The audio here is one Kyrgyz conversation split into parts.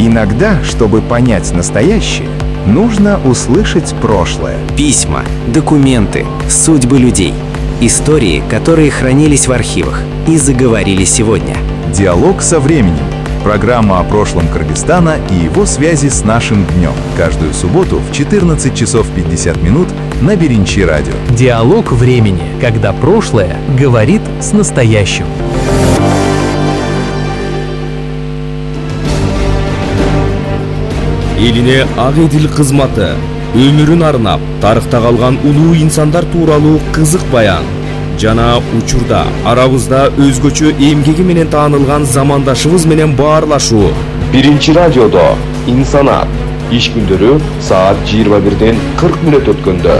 Иногда, чтобы понять настоящее, нужно услышать прошлое. Письма, документы, судьбы людей. Истории, которые хранились в архивах и заговорили сегодня. Диалог со временем. Программа о прошлом Кыргызстана и его связи с нашим днем. Каждую субботу в 14 часов 50 минут на Биринчи радио. Диалог времени, когда прошлое говорит с настоящим. Элине ак эдил кызматы, өмүрүн арнап, тарыхта калган улуу инсандар тууралуу кызык баян жана учурда арабызда өзгөчө эмгеги менен таанылган замандашыбыз менен баарлашуу. Биринчи радиодо инсанат иш күндөрү саат 21-ден 40 мүнөт өткөндө.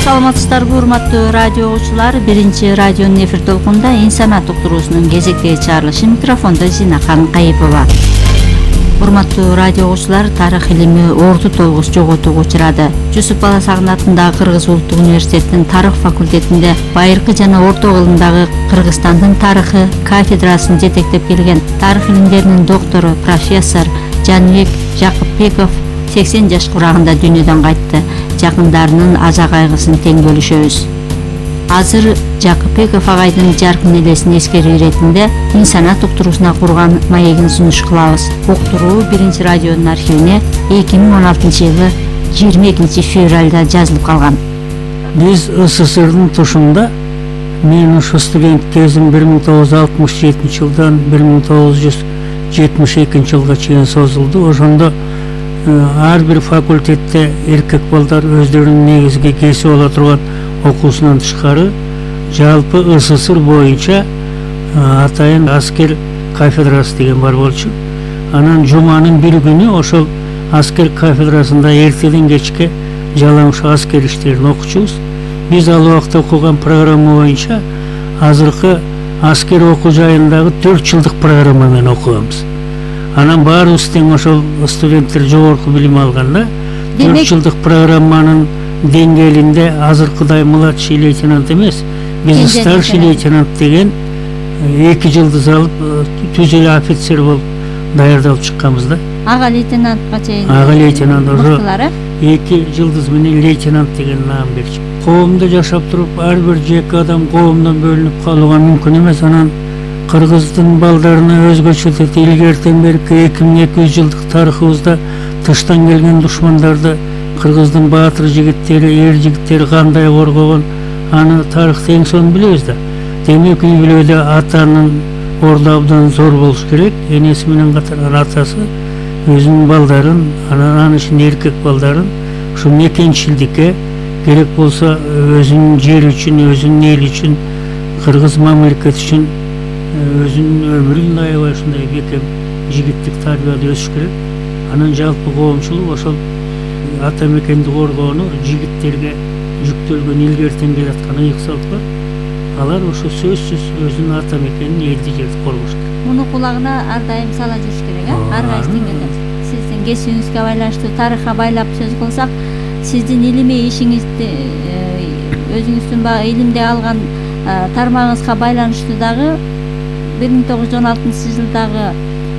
Саламатсыздарбы, урматтуу радио угуучулар. Биринчи радионун эфир толкунунда инсанат уктуруусунун кезектеги чыгарылышы. Микрофондо Зинакан Кайыпова. Урматтуу радио угуучулар, тарых илими орду толгус жоготууга учурады. Жусуп Баласагын атындагы Кыргыз улуттук университетинин тарых факультетинде байыркы жана орто кылымдагы Кыргызстандын тарыхы кафедрасын жетектеп келген тарых илимдеринин доктору профессор Жаныбек Жакыпбеков 80 жаш курагында дүйнөдөн кайтты. Жакындарынын аза кайгысын тең бөлүшөбүз. Азыр Жакыпбеков агайдын жаркын элесин эскерүү иретинде инсанат уктуруусуна курган маегин сунуш кылабыз. Уктуруу Биринчи радионун архивине 2016-жылы 22 февралда жазылып калган. Биз СССРдин тушунда, мен ушу студент кезим 1967 жылдан 1972 жылга чейин созулду. Ошондо ар бир факультетте эркек балдар өздөрүнүн негизги кесип ала турган окуусунан тышкары жалпы СССР боюнча атайын аскер кафедрасы деген бар болчу. Анан жуманын бир күнү ошол аскер кафедрасында эртеден кечке жалаң аскер иштерин окучубуз. Биз ал убакта окуган программа боюнча азыркы аскер окуу жайындагы 4 жылдык программа менен окуганбыз. Анан баарыбыз тең ошол студенттер жогорку билим алганда 4 жылдык программанын деңгээлинде азыркыдай младший лейтенант эмес, биз старший лейтенант деген 2 жылдыз алып түзүлө офицер болуп даярдалып чыкканбыз да. Ага лейтенантка чейин. Ага лейтенант ошо 2 жылдыз менен лейтенант деген наам берчү. Коомдо жашап туруп ар бир жеке адам коомдон бөлүнүп калууга мүмкүн эмес. Анан Кыргыздын балдарына өзгөчө деп илгертен берки 2200 жылдык тарыхыбызда тыштан келген душмандарды Кыргыздын баатыр жигиттери, эр жигиттери кандай коргогон, аны тарыхта эң сонун билебиз да. Демек үй бүлөдө атанын орду абдан зор болуш керек. Энеси менен катар атасы өзүнүн балдарын, анын ичинде эркек балдарын ушу мекенчилдикке керек болсо өзүнүн жери үчүн, өзүнүн эли үчүн, кыргыз мамлекети үчүн өзүнүн өмүрүн аябай ушундай бекем жигиттик тарбияда өсүш керек. Анан жалпы коомчулук ошол ата мекенди коргоону жигиттерге жүктөлгөн илгертен келаткан ыйык салт бар. Алар ошо сөзсүз өзүнүн ата мекенин, элди жерди коргош керек. Муну кулагына ар дайым сала жүрүш керек, ар кайсы деңгээлде. Сиздин кесибиңизге байланыштуу тарыхка байлап сөз кылсак, сиздин илимий ишиңизди өзүңүздүн баягы илимде алган тармагыңызга байланыштуу дагы 1916 жылдагы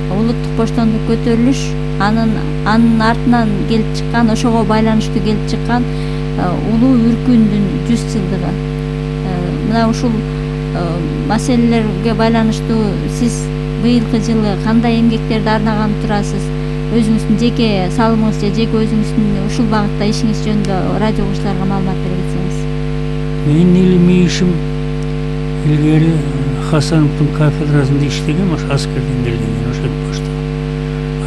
улуттук боштондук көтөрүлүш, анын артынан келип чыккан, ошого байланыштуу келип чыккан улуу үркүндүн 100 жылдыгы. Мына ушул маселелерге байланыштуу сиз быйылкы жылы кандай эмгектерди арнаган турасыз? Өзүңүздүн жеке салымыңыз же жеке өзүңүздүн ушул багытта ишиңиз жөнүндө радио угуучуларга маалымат бере кетсеңиз. Менин илимий ишим илгери Хасановдун кафедрасында иштегем, ошо аскерден келгенден ошентип баштагам.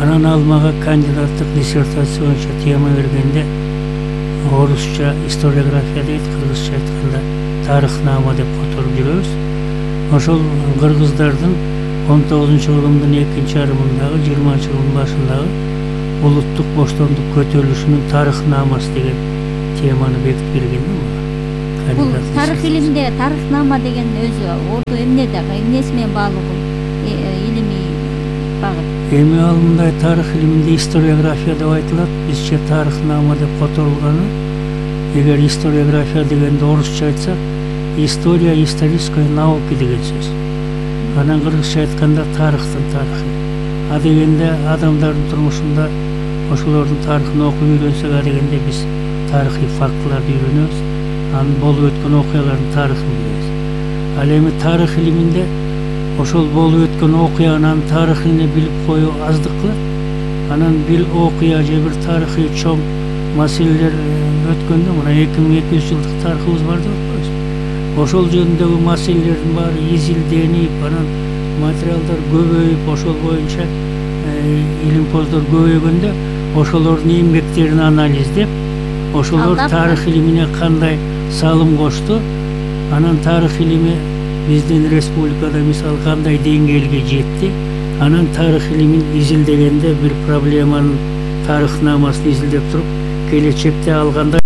Анан ал мага кандидаттык диссертация боюнча тема бергенде орусча историография дейт, кыргызча айтканда тарыхнама деп которуп жүрөбүз. Ошол кыргыздардын 19-кылымдын экинчи жарымындагы 20-кылымдын башындагы улуттук боштондук көтөрүлүшүнүн тарыхнамасы деген теманы бекитип берген да. Бул тарых илимде тарыхнама деген өзү орду эмнеси менен баалуу илимий багыт? Эми ал мындай тарых илиминде историография деп айтылат, бизче тарыхнама деп которулганы. Эгер историография дегенде орусча айтсак, история исторической науки деген сөз. Анан кыргызча айтканда тарыхтын тарыхы. А дегенде адамдардын турмушунда ошолордун тарыхын окуп үйрөнсөк, а дегенде биз тарыхый фактыларды үйрөнөбүз. Анын болуп өткөн окуялардын тарыхын билебиз. Ал эми тарых илиминде ошол болуп өткөн окуянын анын тарыхын билип коюу аздык кылат. Анан бир окуя же бир тарыхый чоң маселелер өткөндө, мына 2200 жылдык тарыхыбыз бар деп атпайбызбы? Ошол жөнүндөгү маселелердин баары изилденип, анан материалдар көбөйүп, ошол боюнча илимпоздор көбөйгөндө, ошолордун эмгектерин анализдеп, ошолор тарых илимине кандай салым кошту, анан тарых илими биздин республикада мисалы кандай деңгээлге жетти, анан тарых илимин изилдегенде бир проблеманын тарыхнамасын изилдеп туруп, келечекте алганда